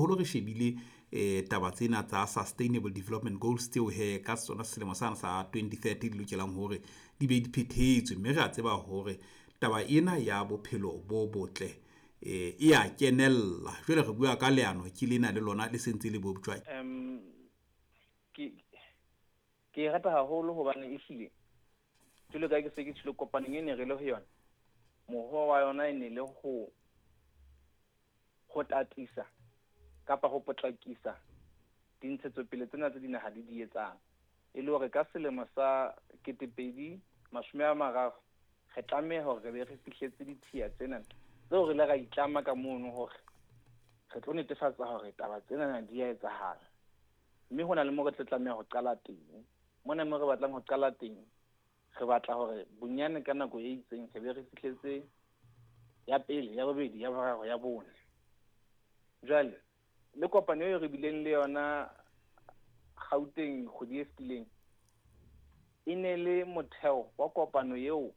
Haholo re shebile taba tsena tsa Sustainable Development Goals tseo he ka sona selemo sana sa 2030 di lokelang hore di be di phethetswe, mme re a tseba hore taba ena ya bophelo bo botle e ya kenella. Jwale re bua ka leano ke lena le lona le sentse le boptjwa. Ke e rata haholo hobane ehlile jwalo ka ke se ke tjholo kopanong e ne re le ho yona, mohoo wa yona e ne le ho tatisa kapa ho potlakisa dintshetsopele tsena tse dinaha di di etsang, e le hore ka selemo sa 2030 re tlameha hore re be re fihletse ditshiya tsena tseo re ile ra itlama ka mono hore re tlo netefatsa hore taba tsena di a etsahala. Mme hona le mo re tlo tlameha ho qala teng. Mona mo re batlang ho qala teng, re batla hore bonyane ka nako e itseng re be re fihletse ya pele, ya bobedi, ya boraro, ya bone. Jwale le kopano eo re bileng le yona Gauteng kgwedi e fetileng e ne le motheo wa kopano eo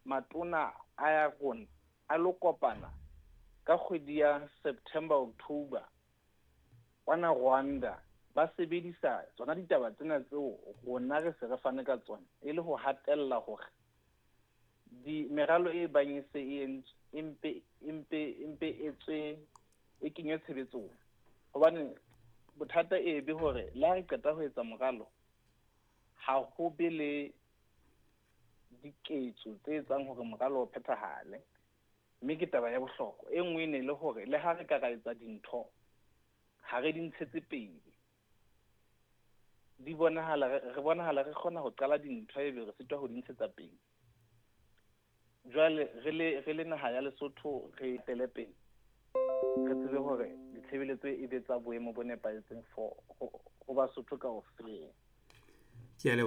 matona a ya rona a lo kopana ka kgwedi ya September, October kwana Rwanda, ba sebedisa tsona ditaba tsena tseo rona re se re fane ka tsona, e le ho hatella hore di meralo e bang e se e entswe empe e tswe e kenywe tshebetsong. Hobane bothata e be hore le ha re qeta ho etsa moralo, ha ho be le diketso tse etsang hore moralo o phethahale. Mme ke taba ya bohlokwa. E nngwe e ne le hore le ha re ka ra etsa dintho, ha re di ntshetse pele. Di bonahala re bonahala re kgona ho qala dintho ebe re sitwa ho di ntshetsa pele. Jwale re le naha ya Lesotho re etele pele, re tsebe hore ditshebeletso e be tsa boemo bo nepahetseng for ho Basotho kaofela. Ke a leboha.